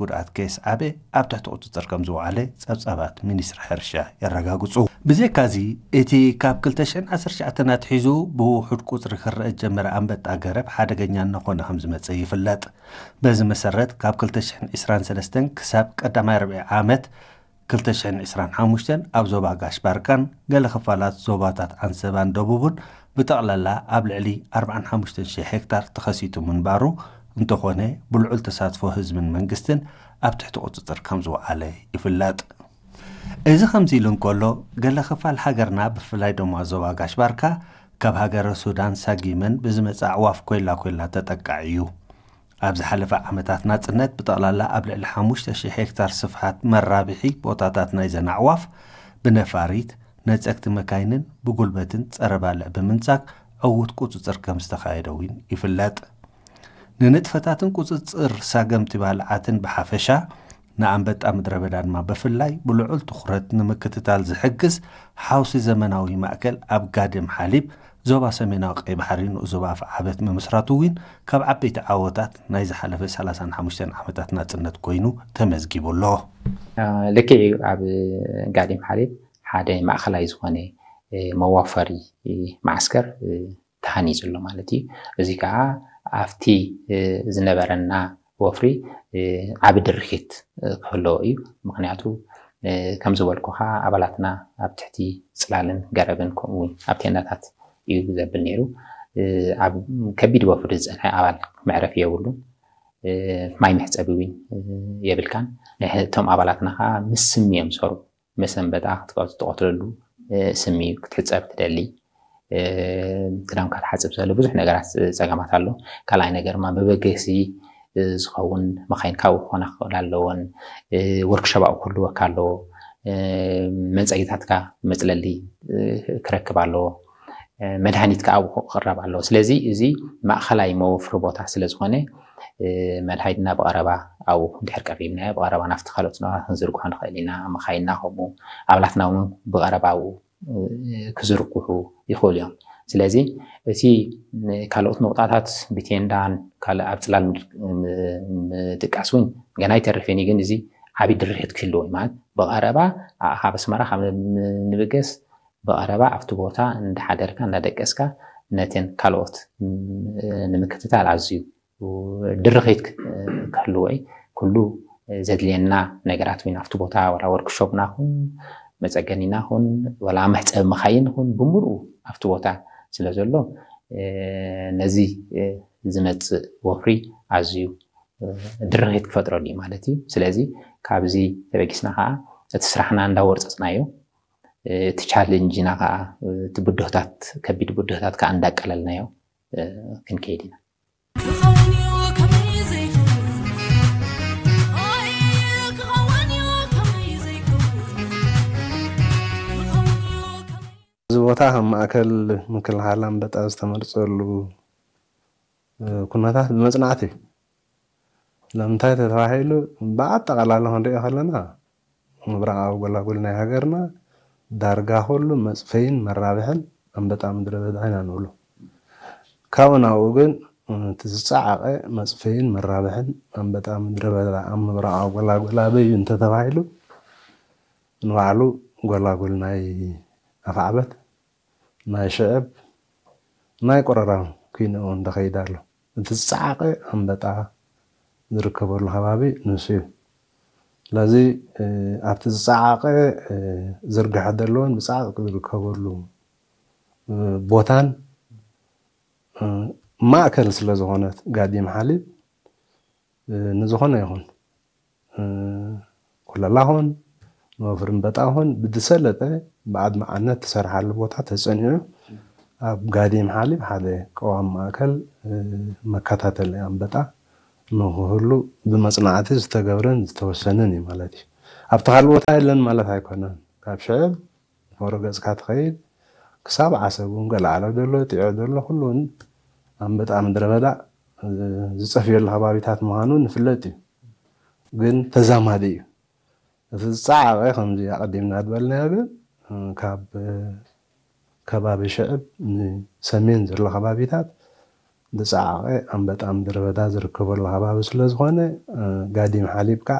ጉድኣት ከየስዓበ ኣብ ትሕቲ ቁፅፅር ከም ዝወዓለ ፀብፃባት ሚኒስትሪ ሕርሻ የረጋግፁ። ብዘይካዚ እቲ ካብ ክልተ ሽሕን ዓሰርተ ትሽዓተን ኣትሒዙ ብውሑድ ቁፅሪ ክረአ ዝጀመረ ኣንበጣ ገረብ ሓደገኛ እናኾነ ከም ዝመፀ ይፍለጥ። በዚ መሰረት ካብ ክልተ ሽሕን ዕስራን ሰለስተን ክሳብ ቀዳማይ ርብዒ ዓመት ክልተ ሽሕን ዕስራን ሓሙሽተን ኣብ ዞባ ጋሽ ባርካን ገለ ክፋላት ዞባታት ዓንሰባን ደቡብን ብጠቕላላ ኣብ ልዕሊ ኣርባዓን ሓሙሽተን ሽሕ ሄክታር ተኸሲቱ ምንባሩ እንተኾነ ብልዑል ተሳትፎ ህዝብን መንግስትን ኣብ ትሕቲ ቁፅፅር ከም ዝወዓለ ይፍለጥ። እዚ ከምዚ ኢሉ እንከሎ ገለ ክፋል ሃገርና ብፍላይ ድማ ዞባ ጋሽ ባርካ ካብ ሃገረ ሱዳን ሳጊመን ብዝመጽእ ኣዕዋፍ ኮይላ ኮይላ ተጠቃዒ እዩ። ኣብ ዝሓለፈ ዓመታት ናጽነት ብጠቕላላ ኣብ ልዕሊ ሓሙሽተ ሽሕ ሄክታር ስፍሓት መራብሒ ቦታታት ናይዘን ኣዕዋፍ ብነፋሪት፣ ነጸግቲ መካይንን ብጉልበትን ጸረ ባልዕ ብምንጻግ ዕዉት ቁጽጽር ከም ዝተኻየደ እውን ይፍለጥ። ንንጥፈታትን ቁጽጽር ሳገምቲ ባልዓትን ብሓፈሻ ንኣንበጣ ምድረ በዳ ድማ ብፍላይ ብልዑል ትኹረት ንምክትታል ዝሕግዝ ሓውሲ ዘመናዊ ማእከል ኣብ ጋድም ሓሊብ ዞባ ሰሜናዊ ቀይ ባሕሪ ንኡስ ዞባ ኣፍዓበት ምምስራቱ እውን ካብ ዓበይቲ ዓወታት ናይ ዝሓለፈ ሰላሳን ሓሙሽተን ዓመታት ናጽነት ኮይኑ ተመዝጊቡ ኣሎ። ልክዕ እዩ። ኣብ ጋዲም ሓሊብ ሓደ ማእኸላይ ዝኾነ መዋፈሪ መዓስከር ተሃኒፁ ኣሎ ማለት እዩ። እዚ ከዓ ኣብቲ ዝነበረና ወፍሪ ዓቢ ድርኺት ክህለዎ እዩ። ምክንያቱ ከም ዝበልኩኻ ኣባላትና ኣብ ትሕቲ ፅላልን ገረብን ከምኡ እውን ኣብ ቴንዳታት እዩ ዘብል ነይሩ። ኣብ ከቢድ ወፍሪ ዝፀንሐ ኣባል መዕረፊ የብሉን። ማይ መሕፀቢ እውን የብልካን። እቶም ኣባላትና ከዓ ምስ ስሚ እዮም ዝሰርሑ። መሰንበጣ ክትቀትለሉ ስሚ ክትሕፀብ ትደሊ። ክዳንካ ትሓፅብ ዘሎ ብዙሕ ነገራት ፀገማት ኣሎ። ካልኣይ ነገር ድማ መበገሲ ዝኸውን መካይን ካብኡ ክኾና ክኽእል ኣለዎን። ወርክሾፕ ኣብኡ ክህልወካ ኣለዎ። መንፀጊታትካ መፅለሊ ክረክብ ኣለዎ። መድሃኒት ከዓ ኣብኡ ክቕረብ ኣለዎ። ስለዚ እዚ ማእኸላይ መወፍሪ ቦታ ስለ ዝኾነ መድሃኒትና ብቐረባ ኣብኡ እንድሕር ቀሪብናዮ ብቐረባ ናብቲ ካልኦት ዞባታት ክንዝርግሖ ንኽእል ኢና። መኻይንና ከምኡ ኣባላትና እውን ብቐረባ ኣብኡ ክዝርግሑ ይኽእሉ እዮም። ስለዚ እቲ ካልኦት ንቑጣታት ብቴንዳን ካልእ ኣብ ፅላል ምድቃስ እውን ገና ኣይተርፍን እዩ። ግን እዚ ዓብዪ ድርሒት ክህልዎ እዩ ማለት ብቐረባ ካብ ኣስመራ ካብ ንብገስ ብቐረባ ኣብቲ ቦታ እንዳሓደርካ እንዳደቀስካ ነተን ካልኦት ንምክትታል ኣዝዩ ድርኺት ክህልዎ እዩ። ኩሉ ዘድልየና ነገራት እውን ኣብቲ ቦታ ዋላ ወርክሾፕና ኹን መፀገኒና ኹን ዋላ መሕፀቢ መኻይን ኹን ብምልኡ ኣብቲ ቦታ ስለ ዘሎ ነዚ ዝመፅእ ወፍሪ ኣዝዩ ድርኺት ክፈጥረሉ እዩ ማለት እዩ። ስለዚ ካብዚ ተበጊስና ከዓ እቲ ስራሕና እንዳወርፀፅናዮ እቲ ቻለንጅና ከዓ እቲ ብድሆታት ከቢድ ብድሆታት ከዓ እንዳቀለልናዮ ክንከይድ ኢና። እዚ ቦታ ከም ማእከል ምክልኻል ኣንበጣ ዝተመርፀሉ ኩነታት ብመፅናዕቲ እዩ። ስለምንታይ ተተባሂሉ ብኣጠቓላሊ ክንሪኦ ከለና ምብራቓዊ ጎላጉል ናይ ሃገርና ዳርጋ ኩሉ መፅፈይን መራብሕን ኣንበጣ ምድረ በዳ ኢና ንብሎ። ካብኡ ናብኡ ግን እቲ ዝፀዓቐ መፅፈይን መራብሕን ኣንበጣ ምድረ በዳ ኣብ ምብራቓዊ ጎላጉል ኣበይ እዩ እንተተባሂሉ ንባዕሉ ጎላጉል ናይ ኣፍዓበት ናይ ሽዕብ ናይ ቆረራም ኩይኑ እውን ተኸይዳ ኣሎ። እቲ ዝፀዓቐ ኣንበጣ ዝርከበሉ ከባቢ ንሱ እዩ። ስለዚ ኣብቲ ዝፀዓቐ ዝርግሐ ዘለዎን ብፃዕቂ ዝርከበሉ ቦታን ማእከል ስለ ዝኾነት ጋዲም ሓሊብ ንዝኾነ ይኹን ኩለላ ኹን ንወፍሪ ኣንበጣ ኹን ብዝሰለጠ ብኣድማዕነት ትሰርሓሉ ቦታ ተፀኒዑ ኣብ ጋዲም ሓሊብ ሓደ ቀዋሚ ማእከል መከታተሊ ኣንበጣ ንክህሉ ብመፅናዕቲ ዝተገብረን ዝተወሰነን እዩ ማለት እዩ። ኣብቲ ካልእ ቦታ የለን ማለት ኣይኮነን። ካብ ሽዕብ ፎሮ ገፅካ ትኸይድ ክሳብ ዓሰብ እውን ገለ ዓለብ ዘሎ ጢዖ ዘሎ ኩሉ እውን ኣንበጣ ምድረ በዳ ዝፀፍየሉ ከባቢታት ምዃኑ ንፍለጥ እዩ። ግን ተዛማዲ እዩ። እቲ ዝፀዓቐ ከምዚ ኣቐዲምና ዝበልናዮ ግን ካብ ከባቢ ሽዕብ ንሰሜን ዘሎ ከባቢታት ዝፀዓቐ ኣንበጣ ምድረ በዳ ዝርከበሉ ከባቢ ስለ ዝኾነ፣ እ፣ ጋዲም ሓሊብካ